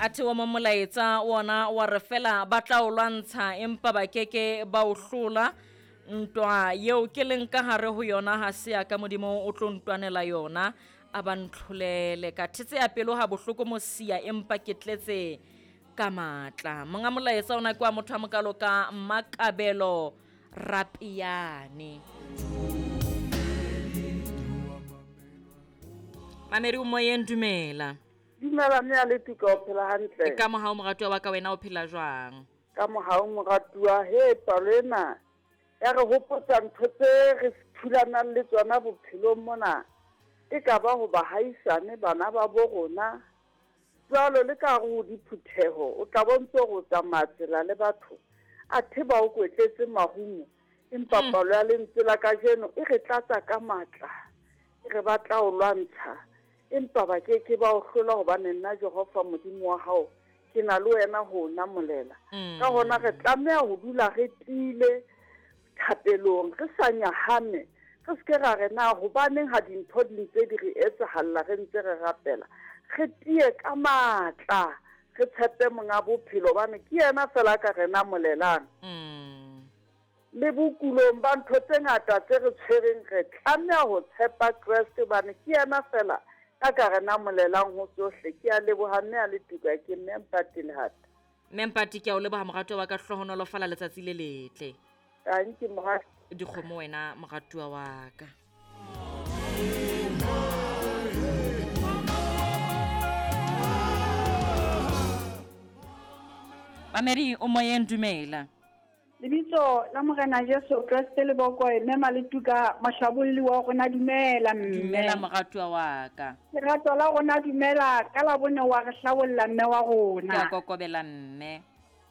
Athe wa mo molaetsa wona wa re fela ba tla o lwantsha empa ba keke ba o hlola. Ntwa yeo ke leng ka hare ho yona ha se ya ka, Modimo o tlo ntwanela yona, a ba ntlholele. Ka thetseya pelo ha bohloko mosia, empa ke tletse ka matla. Monga molaetsa ona ke wa motho a mokalo ka Mmakabelo Rapiane. Mamedi o moyeng, dumela. Dumela mme a le tuka, o phela hantle? Ka mohau moratuwa wa ka, wena o phela jwang? Ka mohau moratuwa. He, palo ena ya re hopotsa ntho tse re thulanang le tsona bophelong mona, e ka ba ho bahaisane, bana ba bo rona, jwalo le ka hare ho diphutheho, o tla bo ntso re o tsamaya tsela le batho, athe ba o kwetletse marumo. Empa palo ya lentswe la kajeno e re tlatsa ka matla, e re ba tla o lwantsha, empa ba ke ke ba o hlola, hobane nna Jehova Modimo wa hao ke na le wena ho o namolela. Ka hona re tlameha ho dula re tiile thapelong, re sa nyahame, re se ke ra re na hobaneng ha dintho di ntse di re etsahalla re ntse re rapela. Re tiye ka matla, re tshepe Monga bophelo, hobane ke yena fela a ka re namolelang. Le bokulong ba ntho tse ngata tse re tshwereng, re tlameha ho tshepa Kreste, hobane ke yena fela a ka re namolelang ho tsohle. Ke a leboha mme a le tuka, ke Mme Mpati Lehata. Mme Mpati, ke a o leboha moratuwa wa ka, hlohonolofala letsatsi le letle. Tanki moratuwa. Dikgomo wena moratuwa wa ka. Mamedi o moyeng, dumela. Lebitso la Morena Jesu Kreste le bokoe, mme Maletuka mohlabolli wa rona, dumela mme. Dumela moratuwa wa ka. Lerato la rona dumela, ka la bone wa re hlabolla mme wa rona. Ke a kokobela mme.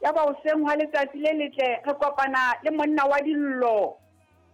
Ya ba hoseng hwa letsatsi le letle re kopana le monna wa dillo.